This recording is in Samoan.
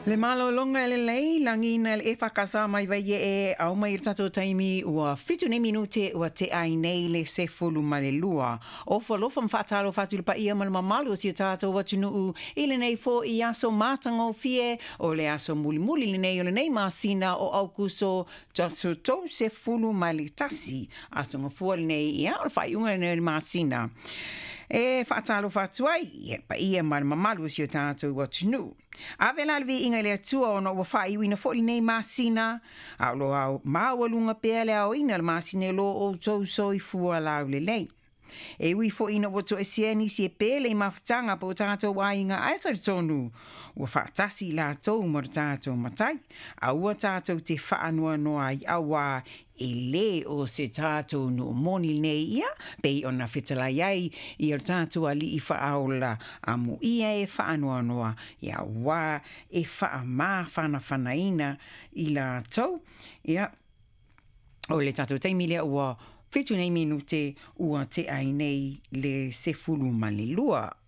Le malologa e lelei lagiina e le EFKS mai Vaieʻe ao mai i le tatou taimi ua 7 nei minute ua tea ai nei le 12. Ofo alofa ma faatalofa atu i le paia ma le mamalu o si o tatou atunuu i lenei foʻi aso matagofie o le aso mulimuli lenei o lenei masina o Aukuso aso 31 aso gafua lenei ia o le faaiuga lenei o le masina. E faatalofa atu ai i le paia ma le mamalu o si o tatou atunuu. Ave la le viiga i le Atua ona ua faaiuina foi lenei masina, a o lo o maualuga pea le aoina o le masina i lo outou soifua laulelei. E ui foi ina ua toesea nisi e pele i mafutaga po o tatou aiga, ae talitonu ua faatasi i latou ma lo tatou Matai. Aua tatou te faanoanoa ai, auā e lē o se tatou nuu moni lenei ia, pei ona fetalai ai ia lo tatou Alii Faaola, amuia e faanoanoa, ia auā e faamafanafanaina i latou. Ia, o le tatou taimi lea ua 7 nei minute ua tea ai nei le 12.